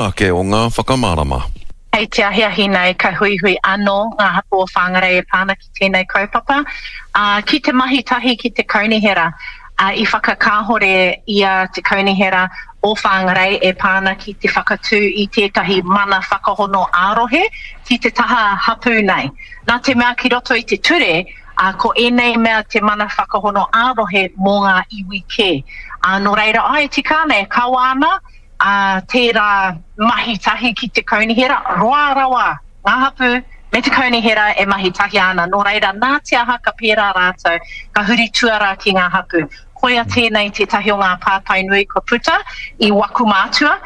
Ake o ngā whakamārama. Hei te ahiahi nei ka huihui anō ngā hapū o Whangarei e pā ana ki tēnei kaupapa, ā, ki te mahi tahi ki te kaunihera. Ā, i whakakāhore i a te kaunihera o Whangarei e pā ana ki te whakatū i tētahi mana whakahono ā-rohe ki te taha hapū nei. Nā te mea ki roto i te ture, ā, ko ēnei mea te mana whakahono ā-rohe mō ngā iwi kē. Ā, nō reira, āe, tika ana, e kawa ana, ā, tērā mahi tahi ki te kaunihera, roa rawa ngā hapū me te kaunihera e mahi tahi ana, nō reira, nā te aha ka pērā rātou, ka huri tuarā ki ngā hapū. Koia tēnei tētahi o ngā pātai nui kua puta i waku mātua.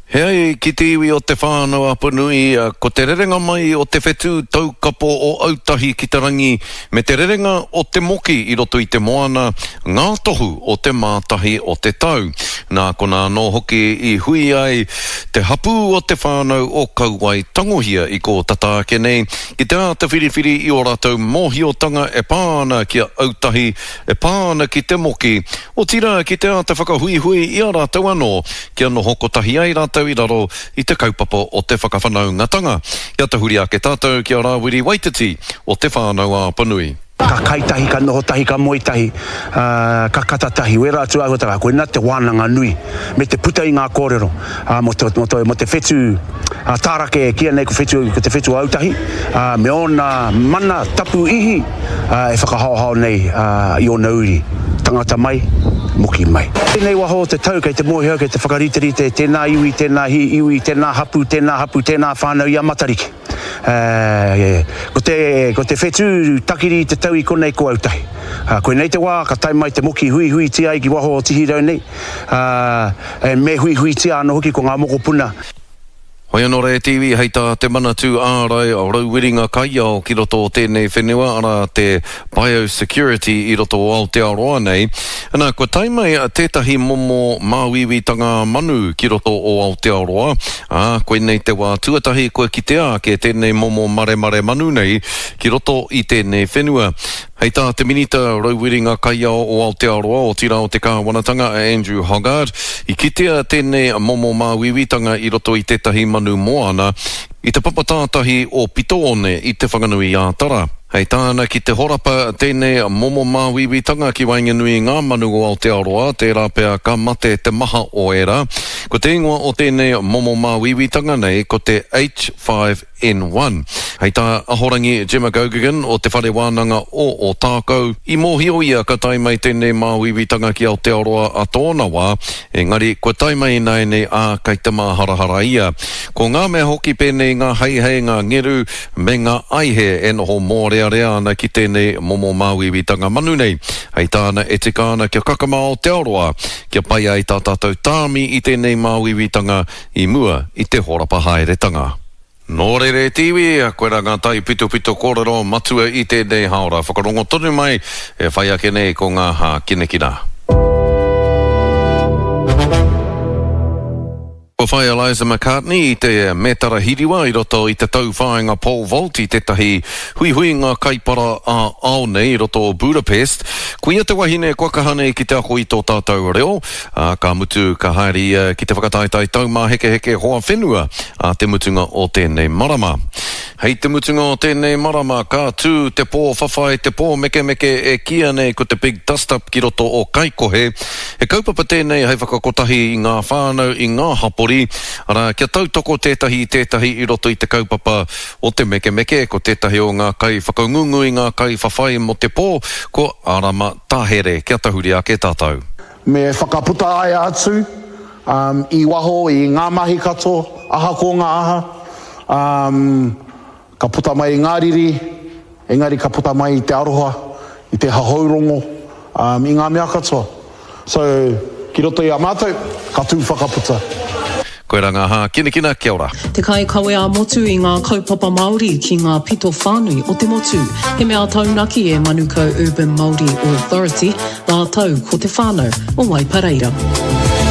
He ai ki te iwi o Te Whānau-a-Apanui, ko te rerenga mai o te whetū taukapo o Autahi ki te rangi me te rerenga o te moki i roto i te moana, ngā tohu o te mātahi o te tau. Nā konā anō hoki i hui ai te hapū o te whānau o Kauae Tangohia i kō tata ake nei ki te āta whiriwhiri i ō rātou mōhiotanga e pā ana ki a Autahi, e pā ana ki te moki, otirā ki te āta whakahuihui i a rātou anō kia noho kotahi ai rātou i raro i te kaupapa o te whakawhanaungatanga. Kia tahuri ake tātou ki a Rāwiri Waititi o Te Whānau-a-Apanui. Ka kai tahi, ka noho tahi, ka moe tahi, ā, ka kata tahi. Wērā atu āhuatanga, koinā te wānanga nui me te puta i ngā kōrero, ā, mō te, mō te, mō te whetū, ā, tārake e kīia nei ko whetū, ko te whetū o Autahi, ā, me ōna mana tapu ihi, ā, e whakahaohao nei, ā, i ōna uri, tangata mai, moki mai. Tēnei waho o te tau kei te mōhio au kei te whakariterite tēnā iwi, tēnā iwi, tēnā hapū, tēnā hapū, tēnā whānau i a Matariki. Ko te, ko te whetū takiri i te tau i konei ko Autahi. Koinei te wā ka tae mai te moki huihuitia ai ki waho o Tihirau nei, ā, me huihuitia anō hoki ko ngā mokopuna. Hoi anō rā e te iwi, hei tā te Manatū Ārai Rauwiringa Kaiao ki roto o tēnei whenua, arā te biosecurity i roto o Aotearoa nei, ana, kua tae mai tētahi momo māuiuitanga manu ki roto o Aotearoa, ā, koinei te wā tuatahi kua kitea ake tēnei momo maremare manu nei ki roto i tēnei whenua. Hei tā te Minita Rauwiringa Kaiao o Aotearoa, otirā o te Kāwanatanga a Andrew Hoggard, i kitea tēnei momo māuiuitanga i roto i tētahi manu moana i te papa tātahi o Pitoone i Te Whanganui-ā-Tara. Hei tāna ki te horapa tēnei momo māuiuitanga ki waenganui i ngā manu o Aotearoa, tērā pea ka mate te maha o ērā. Ko te ingoa o tēnei momo māuiuitanga nei ko te H5 N1. Hei tā Ahorangi Gemma Geoghegan o Te Whare Wānanga o Ōtākou, i mōhio ia ka tae mai tēnei māuiuitanga ki Aotearoa a tōna wā, engari kua tae mai ināianei ā, kei te māharahara ia. Ko ngā mea hoki pēnei ngā heihei, ngā ngeru, me ngā aihe e noho mōrearea ana ki tēnei momo māuiuitanga manu nei. Hei tāna e tika ana kia kakama Aotearoa, kia pai ai tā tātou tāmi i tēnei māuiuitanga i mua i te horapa haeretanga. Nō reira e te iwi, koirā ngā taipitopito kōrero matua i tēnei haora. Whakarongo tonu mai, e whai ake nei ko ngā hākinakina. Kua whai a Liza McCartney i te mētara hiriwa i roto i te tauwhāinga pole vault i tētahi huihuinga kaipara ā-ao nei i roto o Budapest. Koia te wahine kua kaha nei ki te ako i tō tātou reo, ā, ka mutu ka haere ia ki te whakataetae taumāhekeheke hoa whenua ā te mutunga o tēnei marama. Hei te mutunga o tēnei marama ka tū te pō whawhai, te pō mekemeke e kīia nei ko te Big Dust Up ki roto o Kaikohe. He kaupapa tēnei hei whakakotahi i ngā whānau, i ngā hapori, arā, kia tautoko tētahi i tētahi i roto i te kaupapa o te mekemeke. Ko tētahi o ngā kaiwhakangungu i ngā kaiwhawhai mō te pō, ko Arama Tahere. Kia tahuri ake tātou. Me whakaputa aia atu i waho i ngā mahi katoa, ahako ngā aha, ka puta mai i ngā riri, engari ka puta mai i te aroha, i te hahourongo, i ngā mea katoa. So, ki roto i a mātou, ka tū whakaputa. Koirā ngā hākinakina, kia ora. Te kaikawe ā-motu i ngā kaupapa Māori ki ngā pito whānui o te motu. He mea taunaki e Manukau Urban Māori Authority rātou ko te whānau o Waipareira.